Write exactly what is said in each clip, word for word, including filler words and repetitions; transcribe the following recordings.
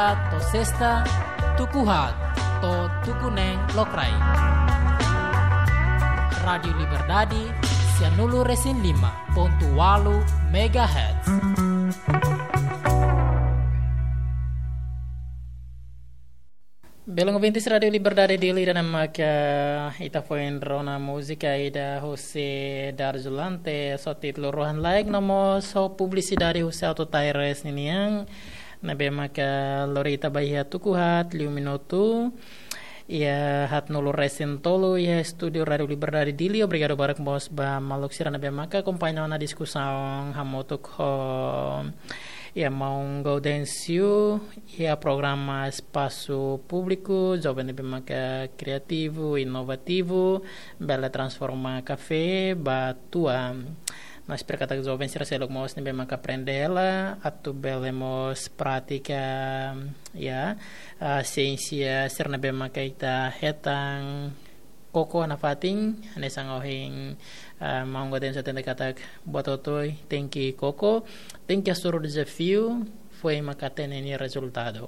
To'o sesta, tuku haat to'o tuku neen lokraik. Rádiu Liberdade, sianulu-resin-lima pontu ualu megahertz. Belun ouvintes Rádiu Liberdade Dili, ida-ne'e maka ita foin rona múzika ida husi Darzulante, ho títulu Rohan Laek, no mós ho publisidade husi Auto Tires ninian, ne'ebé maka lori ita ba iha tuku haat liu minutu, iha haatnulu-resin-tolu iha estúdiu Rádiu Liberdade Dili. Obrigadu barak mós ba maluk sira ne'ebé maka akompaña ona diskusaun hamutuk ho iha maun Gaudêncio iha programa Espasu Públiku, joven ne'ebé maka kriativu, inovativu, bele transforma kafé ba tua. No espera katak joven sira seluk mós ne'ebé maka aprende hela, atu bele mós pratika, ya, ah, siénsia sira ne'ebé maka ita hetan koko iha nafatin, hanesan ohin, ah, maun Gaudêncio hateten katak buat hotu-hotu tenke koko, tenke hasoru dezafiu, foin maka hatene nia rezultadu.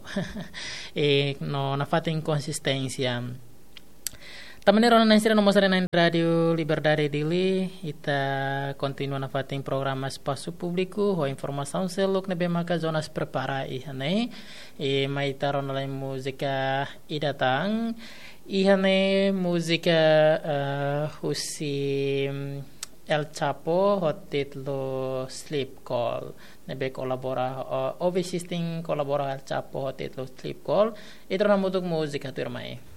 I no nafatin konsisténsia. Tanba ne'e rona na'in sira no mós haree-na'in Rádiu Liberdade Dili, ita kontinua nafatin programa Espasu Públiku, ho informasaun seluk ne'ebé maka jornalista prepara iha ne'e. I mai ita rona lai múzika ida tan. Iha ne'e múzika, eh, husi, mm, El Chapo, ho títulu Sleep Call. Ne'ebé kolabora, eh, Ovi System kolabora El Chapo, ho títulu Sleep Call. Ita rona hamutuk múzika tuirmai.